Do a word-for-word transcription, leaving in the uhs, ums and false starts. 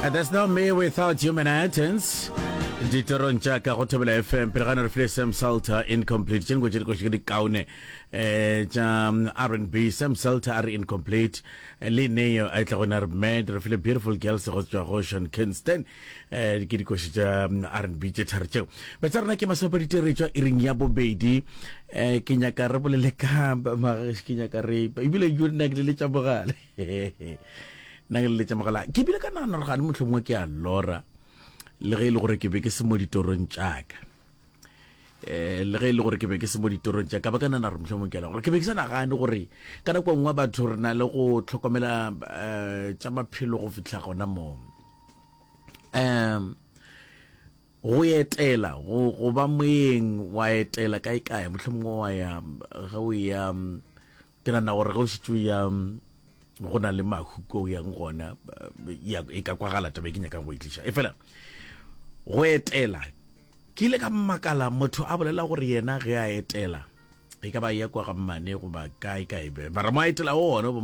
And there's no me without you, Manhattans. Ditorong tša ka go Thobela F M, pele ga ne re file Sam Salter, Incomplete. Tše dingwe tše dikoši ke dikaone um tša R and B. Sam Salter a re Incomplete, le Neo a tla gona re Mad, re file Beautiful Girls go tswa go Sean Kingston. um ke dikoši tša R and B tše tharo tšeo. Betsa rena ke masomepedi tšwa iring ya bobedi. um ke nyaka re bolele ka ke nyaka re ebile yo nna ke leletša mogale, nna ke leletša mogala, ke bile ka nagana gore gane motlho mongwe ke a lora, le ge e le gore ke be ke se mo ditorong tšaka. um le ge e le gore ke be ke se mo ditorong tša ka, ba ka nana gore mohlomong ke gore ke be ke sa nagane gore ka nako nngwe batho re na le go tlhokomela um tša maphelo go fitlha gona moo. um go etela, go go ba moyeng, wa etela kae kae, mohlomongwe wa ya ge o ya, ke nagana gore ge o šetše o ya go na le mahu ko o yang gona, e ka kwagala taba e ke nyakang go e tliša. E fela go etela, ke ile ka makala motho a bolela gore yena ge a etela, e ka ba ya kwa ga mmane goba kae kae, mara mo a etela ona.